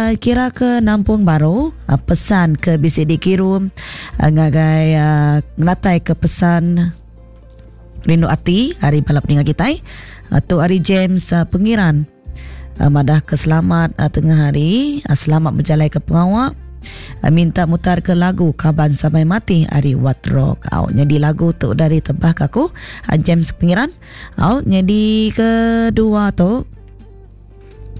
uh, kira ke nampung baru uh, pesan ke bisi dikirum uh, ngagai uh, ngenatai ke pesan rindu ati ari bala peninga kitai. Uh, tu ari James uh, Pengiran uh, madah ke selamat uh, tengah hari, uh, selamat berjalai ke pengawa. Uh, minta mutar ke lagu Kaban Sampai Mati ari Wat Rock. Au nyadi lagu tu dari tebah ke aku uh, James Pengiran. Au nyadi kedua tu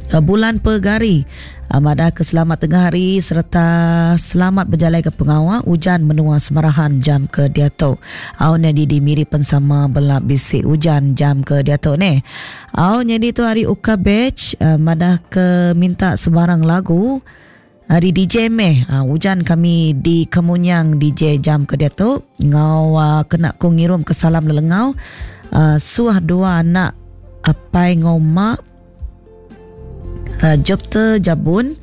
Bulan Pegari madah ke selamat tengah hari sereta selamat bejalai ke pengawa ujan menua Semarahan jam ke diatu. Au nyadi di Miri pen sama bela bisi ujan jam ke diatu neh. Au nyadi tu hari Uka Batch madah ke minta sebarang lagu hari DJ meh. Ujan kami di Kemunyang DJ jam ke diatu ngau kena ku ngirum ke salam lelengau suah dua anak apai ngau mak Jepter Jabun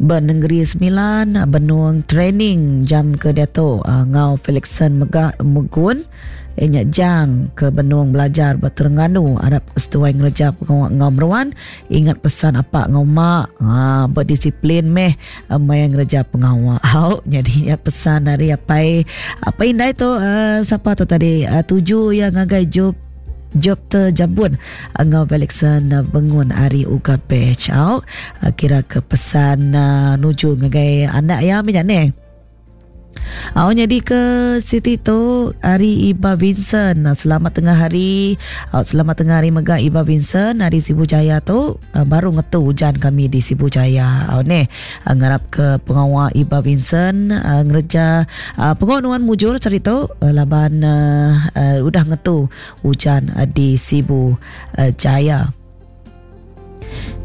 ba Nengeri Semilan benung training jam ke diatu enggau Felixson mega Megun iya nya Jang ke benung belajar ba Terengganu arap ke seduai ngereja pengawa enggau meruan ingat pesan apak enggau mak aa bedisiplin meh maya ngereja pengawa au nyadi nya pesan ari apai apai indai tu aa sapa tu tadi tuju iya ngagai Jop Jopter Jabun enggau Felixson Bengun ari Uga Batch au kira ke pesan nuju ngagai anak iya meh nya neh. Au nyadi ke siti tu ari Iba Vincent selamat tengah hari au selamat tengah hari mega Iba Vincent ari Sibu Jaya tu baru ngetu ujan kami di Sibu Jaya au neh ngarap ke pengawa Iba Vincent ngereja pengawa nuan mujur sehari tu laban udah ngetu ujan di Sibu Jaya.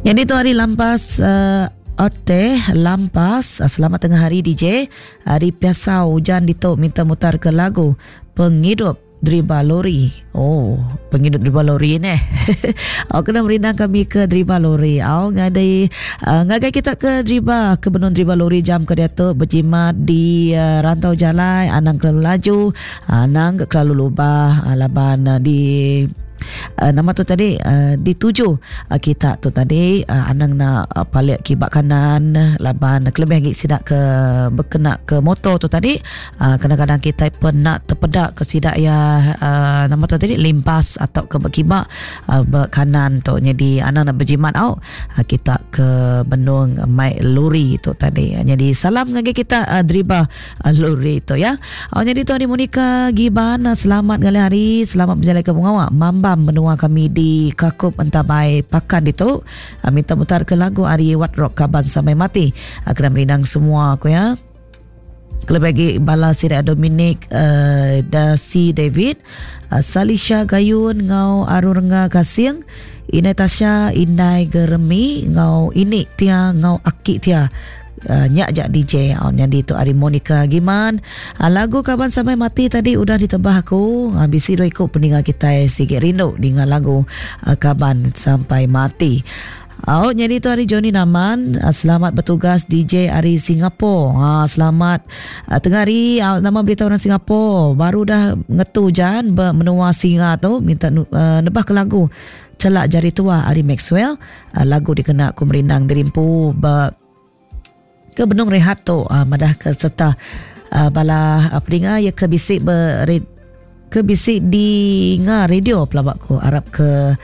Nyadi tu hari Lampas Ote Lampas selamat tengah hari DJ hari Piasau ujan ditu minta mutar ke lagu Pengidup Driba lori. Oh, pengidup driba lori neh. Au kena merindang kami ke driba lori. Au ngadai uh, ngagai kita ke driba ke benung driba lori jam ke diatu bejimat di uh, rantau jalai anang kelalu laju, anang ke kelalu lubah uh, laban uh, di uh, nama tu tadi uh, dituju uh, kita tu tadi uh, anang nak uh, palik kibak kanan laban kelebih lagi sida ke berkena ke motor tu tadi uh, kadang-kadang kita pun nak terpeda ke sida ya uh, nama tu tadi limpas atau ke berkibak uh, berkanan tu jadi anang nak berjimat au uh, kita ke benung mai lori tu tadi jadi salam ngagai kita uh, driba Lori tu ya. Oh, jadi tu hari Monica Giban selamat ngalih hari, selamat berjalan ke pengawa mambam menua kami di Kakup Entabai Pakan ditu. Ah, minta mutar ke lagu ari Wat Rock Kaban Sampai Mati. Ah, kena merindang semua aku ya. Kelebih lagi bala sida Dominic uh, Dasi David, uh, Salisha Gayun ngau Arun Renga Kasing, Inai Tasha, Inai Geremi ngau Ini Tia ngau Aki Tia. Uh, nya aja DJ uh, nyadi tu ari Monica Giman. Uh, lagu Kaban Sampai Mati tadi udah ditebah aku. Uh, bisi dua iku peninga kitai sigi rindu ninga lagu uh, Kaban Sampai Mati. Oh, nyadi tu ari Johnny Naman. Uh, selamat bertugas DJ ari Singapore. Uh, selamat uh, tengah hari uh, nama berita orang Singapore. Baru dah ngetu jan be menua singa tu minta uh, nebah ke lagu Celak Jari Tua ari Maxwell. Uh, lagu dikena ku merindang dirimpu be Ke benung rehat tu madah ke serta bala peninga iya ke bisi be ke bisi dinga radio pelaba ku arap ke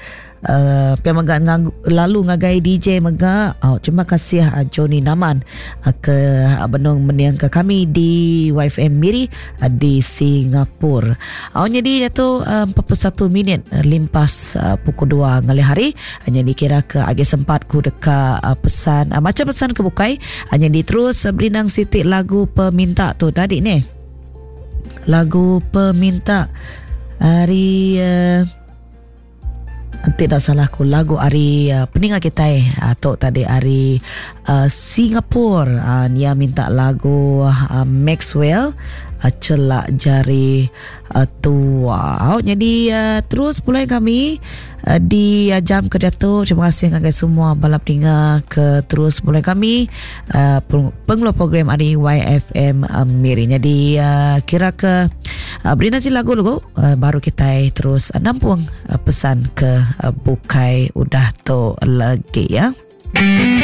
uh, pia mega ngag, lalu ngagai DJ mega oh, terima kasih uh, Johnny Naman uh, ke uh, benung meniang ke kami di YFM Miri uh, di Singapura. Oh, jadi tu uh, 41 minit uh, limpas uh, pukul 2 ngalih hari. Nya dikira ke agi sempat ku deka pesan macam pesan ke bukai nya diterus berindang siti lagu peminta tu tadi ni. Lagu peminta ari uh, tidak salah ku lagu ari uh, peninga kitai uh, tu tadi ari uh, Singapura uh, nia minta lagu uh, Maxwell uh, celak jari uh, tua. Jadi uh, terus pulai kami uh, di uh, jam ke diatu. Terima kasih ngagai semua bala peninga ke terus pulai kami uh, pengeluar program ari YFM uh, Miri. Jadi uh, kira ke uh, beri nasi lagu lagu uh, baru kita terus uh, nampung uh, pesan ke uh, bukai udah tu lagi ya.